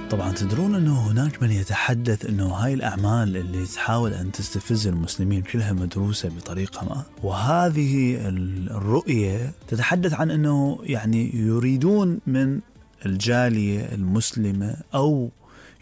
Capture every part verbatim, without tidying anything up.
طبعا تدرون أنه هناك من يتحدث أنه هاي الأعمال اللي تحاول أن تستفز المسلمين كلها مدروسة بطريقة ما، وهذه الرؤية تتحدث عن أنه يعني يريدون من الجالية المسلمة أو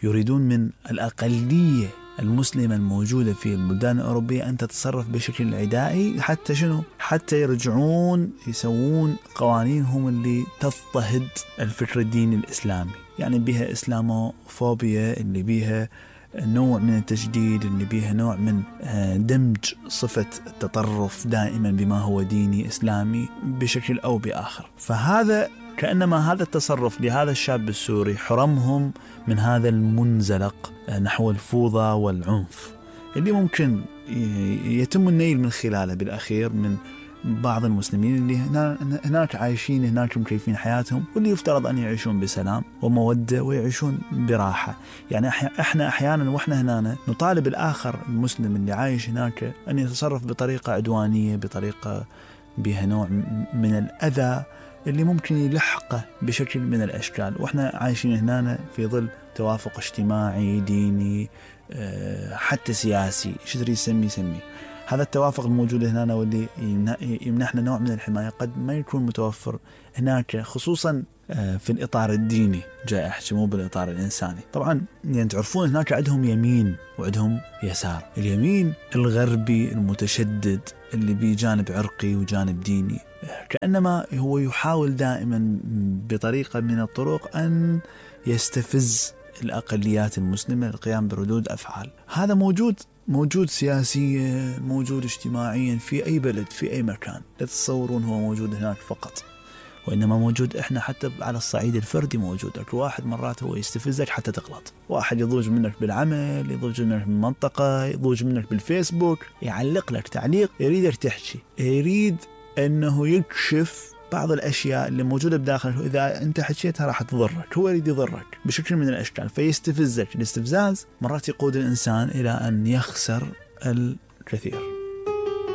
يريدون من الأقلية المسلمة الموجودة في البلدان الأوروبية أن تتصرف بشكل عدائي حتى شنو؟ حتى يرجعون يسوون قوانينهم اللي تضطهد الفكر الديني الإسلامي، يعني بها إسلاموفوبيا، اللي بها نوع من التجديد، اللي بها نوع من دمج صفة التطرف دائما بما هو ديني إسلامي بشكل أو بآخر. فهذا كأنما هذا التصرف لهذا الشاب السوري حرمهم من هذا المنزلق نحو الفوضى والعنف اللي ممكن يتم النيل من خلاله بالأخير من بعض المسلمين اللي هناك عايشين هناك مكيفين حياتهم، واللي يفترض أن يعيشون بسلام ومودة ويعيشون براحة. يعني احنا أحيانا واحنا هنا نطالب الآخر المسلم اللي عايش هناك أن يتصرف بطريقة عدوانية، بطريقة بها نوع من الأذى اللي ممكن يلحقه بشكل من الأشكال، وإحنا عايشين هنا في ظل توافق اجتماعي ديني حتى سياسي، شو تريد يسمي يسمي. هذا التوافق الموجود هنا واللي يمنحنا نوع من الحماية قد ما يكون متوفر هناك، خصوصا في الإطار الديني جاي أحكي، مو بالإطار الإنساني. طبعا يعني تعرفون هناك عندهم يمين وعندهم يسار. اليمين الغربي المتشدد اللي بيه جانب عرقي وجانب ديني، كأنما هو يحاول دائما بطريقة من الطرق أن يستفز الأقليات المسلمة للقيام بردود أفعال. هذا موجود موجود سياسيا، موجود اجتماعيا في أي بلد في أي مكان. لا تتصورون هو موجود هناك فقط، وإنما موجود إحنا حتى على الصعيد الفردي موجود. أكو واحد مرات هو يستفزك حتى تغلط، واحد يضوج منك بالعمل، يضوج منك بالمنطقة، يضوج منك بالفيسبوك، يعلق لك تعليق يريدك تحكي، يريد أنه يكشف بعض الأشياء اللي موجودة بداخله. إذا أنت حكيتها راح تضرك، هو يريد يضرك بشكل من الأشكال، فيستفزك. الاستفزاز مرات يقود الإنسان إلى أن يخسر الكثير.